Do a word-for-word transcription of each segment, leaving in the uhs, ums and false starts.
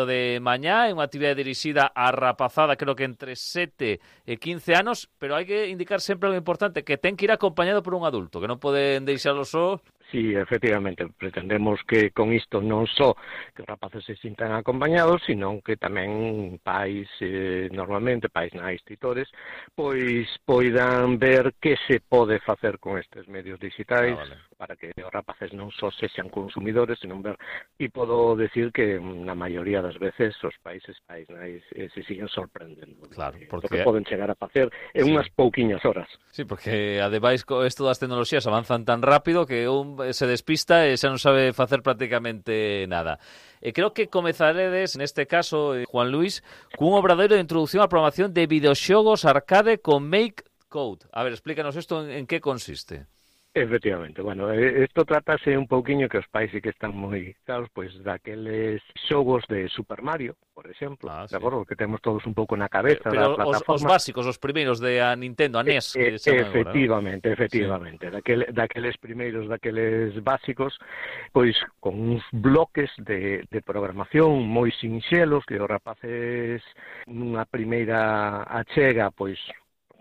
de mañá, é unha actividade dirixida á rapazada, creo que entre sete e quince anos, pero hai que indicar sempre algo importante, que ten que ir acompañado por un adulto, que non poden deixalo só. Sí, efectivamente, pretendemos que con isto non só que os rapaces se sintan acompañados, sino que tamén pais, eh, normalmente pais nais titores, pois poidan ver que se pode facer con estes medios digitais, ah, vale. Para que os rapaces non só sexan consumidores, sino ver, e podo decir que na maioría das veces os países pais nais eh, se siguen sorprendendo. Claro, porque... O que poden chegar a facer en sí. unhas pouquiñas horas. Sí, porque ademais isto das tecnoloxías avanzan tan rápido que un se despista e xa non sabe facer prácticamente nada. E creo que comezaredes, neste caso, Juan Luis, cun obradoiro de introducción á programación de videoxogos arcade con Make Code. A ver, explícanos isto en, en que consiste. Efectivamente, bueno, isto tratase un pouquiño que os pais sí que están moi claros, pois daqueles xogos de Super Mario, por exemplo, ah, sí. De acordo, que temos todos un pouco na cabeza pero, da plataforma. Os, os básicos, os primeiros de a Nintendo, a N E S, que e, efectivamente, agora, ¿no? efectivamente, sí. daquel, daqueles primeiros, daqueles básicos, pois con uns bloques de, de programación moi sinxelos que os rapaces nunha primeira achega, pois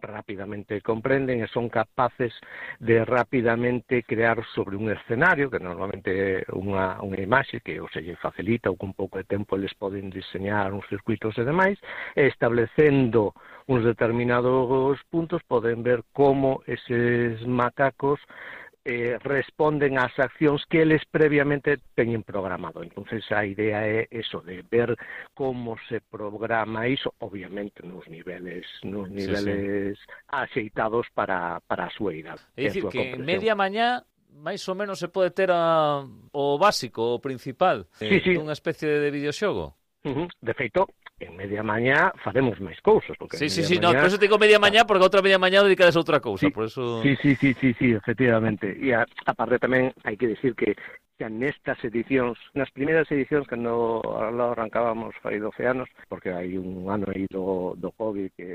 rápidamente comprenden e son capaces de rápidamente crear sobre un escenario, que normalmente é unha, unha imaxe que o se lle facilita ou con pouco de tempo eles poden diseñar uns circuitos e demais, e establecendo uns determinados puntos poden ver como eses macacos Eh, responden ás accións que eles previamente teñen programado. Entonces a idea é eso, de ver como se programa iso, obviamente nos niveles nos niveles sí, sí. axeitados para, para a súa idade. É dicir, que en media mañá máis ou menos se pode ter a, o básico, o principal, sí, sí. dunha especie de videoxogo. Uh-huh. De feito, en media mañá faremos máis cousas. Porque sí, sí, sí, mañá... no, por eso te digo media mañá, porque outra media mañá dedicades a outra cousa, sí, por eso... Sí, sí, sí, sí, sí, efectivamente. E a, a parte tamén hai que decir que xa nestas edicións, nas primeiras edicións que no arrancábamos fai doce anos, porque hai un ano aí do, do COVID que...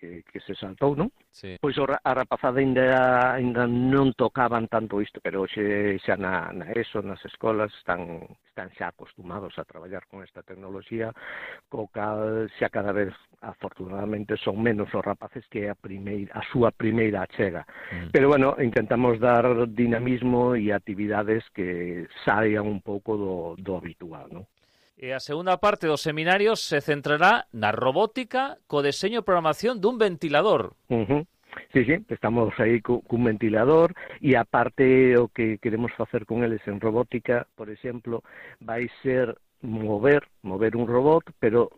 Que, que se saltou, non? Sí. Pois a rapazada ainda, ainda non tocaban tanto isto, pero hoxe xa na, na ESO, nas escolas, están, están xa acostumados a traballar con esta tecnoloxía, co cal xa cada vez, afortunadamente, son menos os rapaces que a, primeira, a súa primeira achega. Mm. Pero, bueno, intentamos dar dinamismo e actividades que saian un pouco do, do habitual, non? E a segunda parte do seminario se centrará na robótica co deseño e programación dun ventilador. Uh-huh. Sí, sí, estamos aí cu, cun ventilador e aparte o que queremos facer con eles en robótica, por exemplo, vai ser mover, mover un robot, pero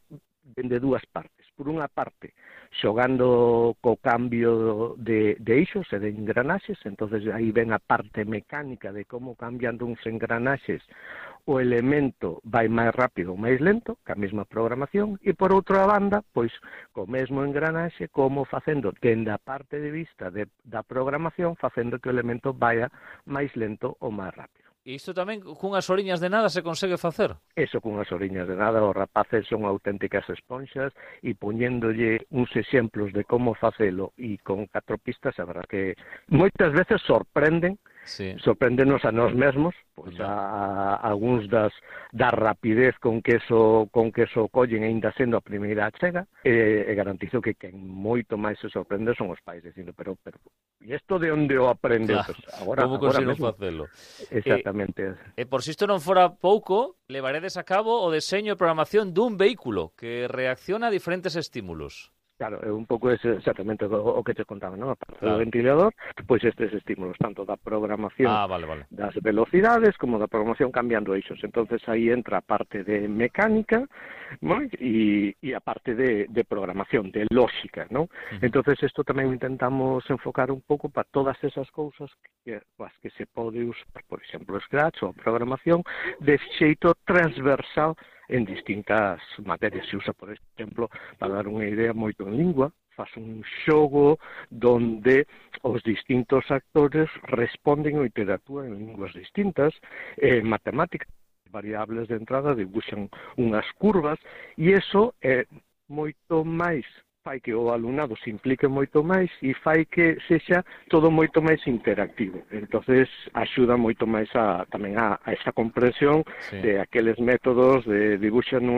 de dúas partes. Por unha parte, xogando co cambio de, de eixos e de engranaxes, entonces aí ven a parte mecánica de como cambiando uns engranaxes o elemento vai máis rápido ou máis lento, ca mesma programación, e por outra banda, pois, co mesmo engranaxe, como facendo, dende a parte de vista de, da programación, facendo que o elemento vaya máis lento ou máis rápido. E isto tamén cunhas oriñas de nada se consegue facer? Eso, cunhas oriñas de nada, os rapaces son auténticas esponxas e poñéndolle uns exemplos de como facelo e con catro pistas, a verdad que moitas veces sorprenden, sí. sorprendenos a nós mesmos, pois a, a algúns das da rapidez con que eso con que eso collen aínda sendo a primeira achega, e, e garantizo que quen moito máis se sorprende son os pais dicindo, pero pero e isto de onde o aprendeu? Claro. Pues agora, como agora consigo mesmo. facelo? Exactamente. E, e por si isto non fora pouco, levaredes a cabo o deseño e programación dun vehículo que reacciona a diferentes estímulos. Claro, é un pouco ese, exactamente o, o que te contaba, non? A parte claro. do ventilador, pois estes estímulos, tanto da programación ah, vale, vale. das velocidades como da programación cambiando eixos. Entonces aí entra a parte de mecánica, non? E, e a parte de, de programación, de lógica, non? Uh-huh. Entonces isto tamén intentamos enfocar un pouco para todas esas cousas que, as que se pode usar, por exemplo, Scratch ou a programación, de xeito transversal en distintas materias. Se usa, por exemplo, para dar unha idea moito en lingua, faz un xogo donde os distintos actores responden ou interactúan en linguas distintas, en matemáticas, variables de entrada dibuixan unhas curvas, e iso é moito máis fai que o alumnado se implique moito máis e fai que sexa todo moito máis interactivo. Entonces axuda moito máis a, tamén a, a esa comprensión sí. de aqueles métodos de dibuixo nun